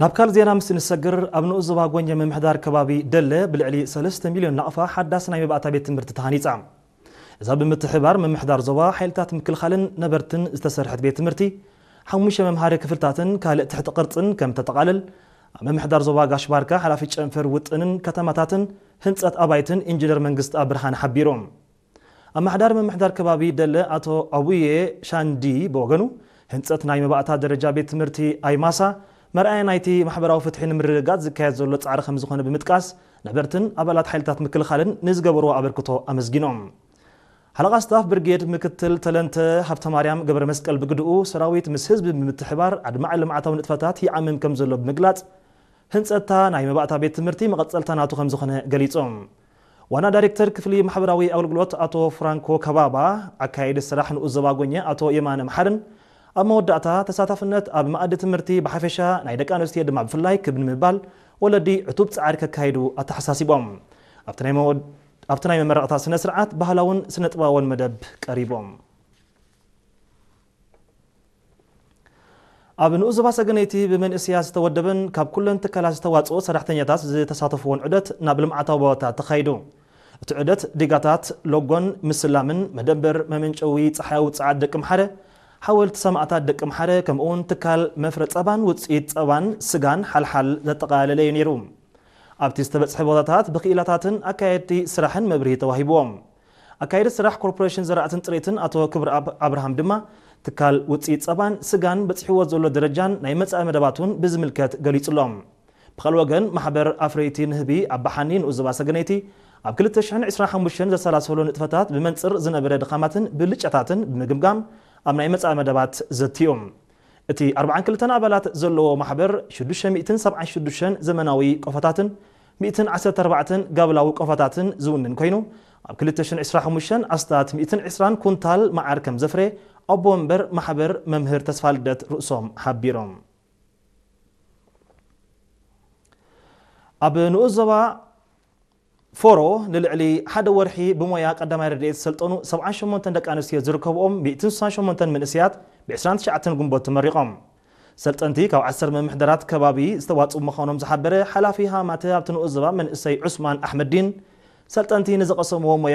ናብ ካልእ ዜና ምስ እንሰግር፣ ኣብ ንኡስ ዞባ ጎኘ ምምሕዳር ከባቢ ደለ ብልዕሊ ሰለስተ ሚልዮን ናቕፋ ሓዳስ ናይ መባእታ ቤት ትምህርቲ ተሃኒጻ። እዛ ብምትሕባር ምምሕዳር ዞባ ሓይልታት ምክልኻልን ነበርትን ዝተሰርሐት ቤት ትምህርቲ፣ ሓሙሽተ መምሃሪ ክፍልታትን ካልእ ትሕቲ ቅርጽን ከም ተጠቓልል፣ ኣብ ምምሕዳር ዞባ ጋሽ ባርካ ሓላፊ ጨንፈር ውጥንን ከተማታትን ህንጸት ኣባይትን ኢንጂነር መንግስቲ ኣብ ብርሃን ሓቢሮም። ኣመሓዳሪ ምምሕዳር ከባቢ ደለ ኣቶ ኣቡዬ ሻንዲ ብወገኑ፣ ህንጸት ናይ መባእታ ደረጃ ቤት ትምህርቲ ኣይማሳ መርኣያ ናይቲ ማሕበራዊ ፍትሒ ንምርግጋጽ ዝካየድ ዘሎ ጻዕሪ ከም ዝኾነ ብምጥቃስ፣ ነበርትን ኣባላት ሓይልታት ምክልኻልን ንዝገበርዎ ኣበርክቶ ኣመስጊኖም። ሓለቓ ስታፍ ብርጌድ ምክትል ተለንተ ሃብተማርያም ገብረ መስቀል ብግድኡ፣ ሰራዊት ምስ ህዝቢ ብምትሕባር ኣድማዒ ልምዓታዊ ንጥፈታት ይዓምም ከም ዘሎ ብምግላጽ፣ ህንጸትታ ናይ መባእታ ቤት ትምህርቲ መቐጸልታ ናቱ ከም ዝኾነ ገሊጾም። ዋና ዳይሬክተር ክፍሊ ማሕበራዊ ኣገልግሎት ኣቶ ፍራንኮ ከባባ፣ ኣካያዲ ስራሕ ንኡስ ዞባ ጎኘ ኣቶ የማነ መሓርን ኣብ መወዳእታ፣ ተሳታፍነት ኣብ መኣዲ ትምህርቲ ብሓፈሻ ናይ ደቂ ኣንስትዮ ድማ ብፍላይ ክብ ንምባል ወለዲ ዕቱብ ጻዕሪ ከካይዱ ኣተሓሳሲቦም። ኣብቲ ናይ መወድ-፣ ኣብቲ ናይ መመረቕታ ስነ ስርዓት ባህላውን ስነ ጥበባውን መደብ ቀሪቦም። ኣብ ንኡስ ዞባ ሰገነይቲ ብመንእሰያት ዝተወደበን ካብ ኩለን ትካላት ዝተዋጽኦ ሰራሕተኛታት ዝተሳተፍዎን ዑደት ናብ ልምዓታዊ ቦታታት ተኻይዱ። እቲ ዑደት ዲጋታት፣ ሎጎን ምስላምን መደበር መመንጨዊ ጸሓያዊ ጸዓት ደቂ ምሓረ፣ ሓወልቲ ሰማእታት ደቂ ምሓረ፣ ከምኡውን ትካል መፍረ ጸባን ውጽኢት ጸባን ስጋን ሓልሓል ዘጠቓለለ እዩ ነይሩ። ኣብቲ ዝተበጽሐ ቦታታት ብክኢላታትን ኣካየድቲ ስራሕን መብርሂ ተዋሂብዎም። ኣካየዲ ስራሕ ኮርፖሬሽን ዘራእትን ጥሪትን ኣቶ ክብረኣብ ኣብርሃም ድማ፣ ትካል ውጽኢት ጸባን ስጋን በጺሕዎ ዘሎ ደረጃን ናይ መጻኢ መደባቱን ብዝምልከት ገሊጹሎም። ብኻልእ ወገን፣ ማሕበር ኣፍረይቲ ንህቢ ኣባሓኒ ንኡስ ዞባ ሰገነይቲ፣ ኣብ ክልተ ሽሕን ዕስራን ሓሙሽተን ዘሰላሰሎ ንጥፈታት ብመንጽር ዝነበረ ድኻማትን ብልጫታትን ብምግምጋም፣ ኣብ ናይ መጻኢ መደባት ዘትዮም። እቲ ኣርባዓን ክልተን ኣባላት ዘለዎ ማሕበር፣ ሽዱሽተ ሚእትን ሰብዓን ሽዱሽተን ዘመናዊ ቆፎታትን ሚእትን ዓሰርተ ኣርባዕተን ጋብላዊ ቆፎታትን ዝውንን ኮይኑ፣ ኣብ ክልተ ሽሕን ዕስራን ሓሙሽተን ኣስታት ሚእትን ዕስራን ኩንታል መዓር ከም ዘፍረ ኣቦ መንበር ማሕበር መምህር ተስፋልደት ርእሶም ሓቢሮም። ኣብ ንኡስ ዞባ ፎሮ ንልዕሊ ሓደ ወርሒ ብሞያ ቀዳማይ ረድኤት ዝሰልጠኑ ሰብዓን ሸሞንተን ደቂ ኣንስትዮ ዝርከብኦም ሚእትን ስሳን ሸሞንተን መንእሰያት ብ ዕስራን ትሽዓተን ግንቦት ተመሪቖም። ሰልጠንቲ ካብ ዓሰርተ ምምሕዳራት ከባቢ ዝተዋፅኡ ምዃኖም ዝሓበረ ሓላፊ ሃማተ ኣብቲ ንኡስ ዞባ መንእሰይ ዑስማን ኣሕመዲን፣ ሰልጠንቲ ንዝቐሰምዎ ሞያ